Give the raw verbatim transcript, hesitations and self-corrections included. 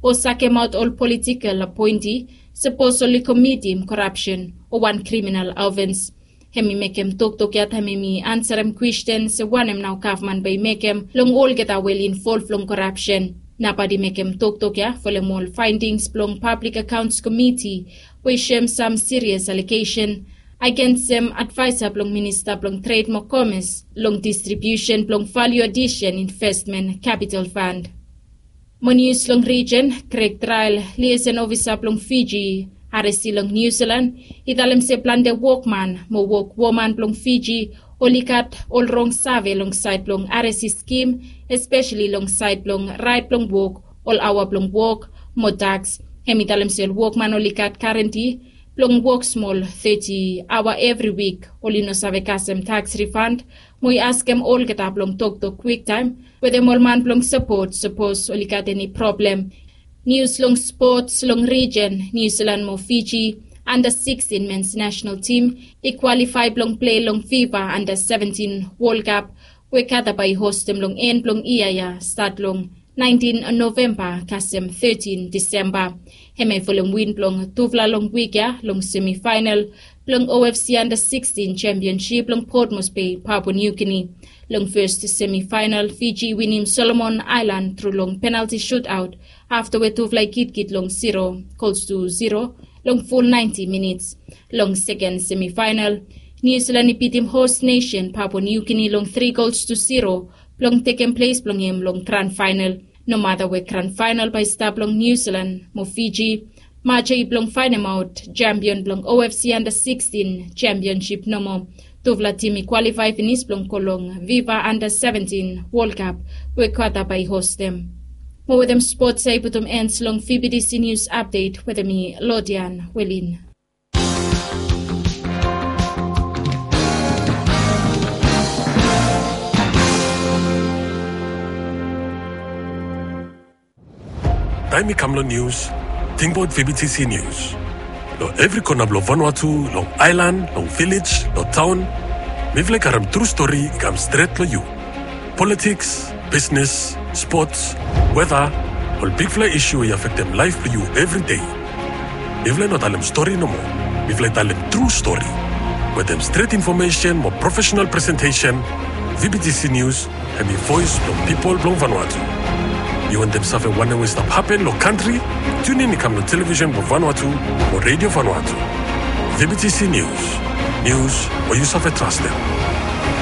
o sakemaot ol politikel apoenti sapos oli komitim korapsen o wan kriminal ofens. Hem i mekem toktok ya taem hem i ansarem kwesten se wanem nao gavman bae i mekem long olgeta we oli involv long korapsen. Nabaot i mekem toktok ya folem ol faendings blong Pablik Akaons Komiti we i soem sam sirias alegesen agensem advaesa blong minista blong tred mo komes long distribiusen blong valiu adisen investmen kapital fand. Mo nius long rijen, Greg Trael, liesen ofisa blong Fiji, aresi long Niu Silan, i talem se plante wokman mo wokwoman blong Fiji oli gat ol rong save long saed blong aresi skim, espeseli long saed blong raet blong wok, ol aoa blong wok mo taks. Hem i talem se ol wokman oli gat garanti blong wok smol teti aoa evri wik, oli no save kasem taks rifand, mo i askem olgeta blong toktok kwiktaem wetem ol man blong sapot sapos oli gat eni problem. Nius long spots long rijen, Niu Silan mo Fiji anda sikstin mens nasenal tim i kwalifae blong plei long fifa anda seventin Wol Kap we Kata bae i hostem long en blong yia ya stat long naentin Novemba kasem tetin Disemba. Hem i folem win blong tufala long wik ya long semifaenal blong O F C anda sikstin sempionsip long Port Moresby, Papua New Guinea. Long fes semifaenal Fiji i winim Solomon Aelan tru long penalti sutaot afta we tufala i kitkit long zero gols tu zero long ful naenti minits. Long seken semifaenal, Niu Silan i bitim hos nesen Papua New Guinea long tri gols tu zero blong tekem ples blong hem long gran faenal. Nomata we gran faenal bae i stap long Niu Silan mo Fiji, maja i blong faenemaot sempion blong O F C anda sikstin sempionsip nomo. Tufala tim i kwalifae finis blong go long fifa anda seventin Wol Kap we Kata bae i hostem. Mo wetem spots ya i putum en long V B T C Nius Apdet wetem mi, Lodian Welin. Taem i kam long nius, tingbaot V B T C Nius. Long evri kona blong Vanuatu, long aelan, long vilej, long taon, mifala i karem tru stori i kam stret long yu. Politiks, bisnes, spots, weta, ol bigfala isu we i afektem laef blong yu evri dei. Mifala i no talem stori nomo. Mifala i talem tru stori. Wetem stret infomesen mo profesenal presentesen, V B T C Nius hem i voes blong pipol blong Vanuatu. Yu wantem save wanem we i stap hapen long kantri? Tiunin i kam long televisen blong Vanuatu o redio Vanuatu. V B T C Nius. Nius we yu save trastem.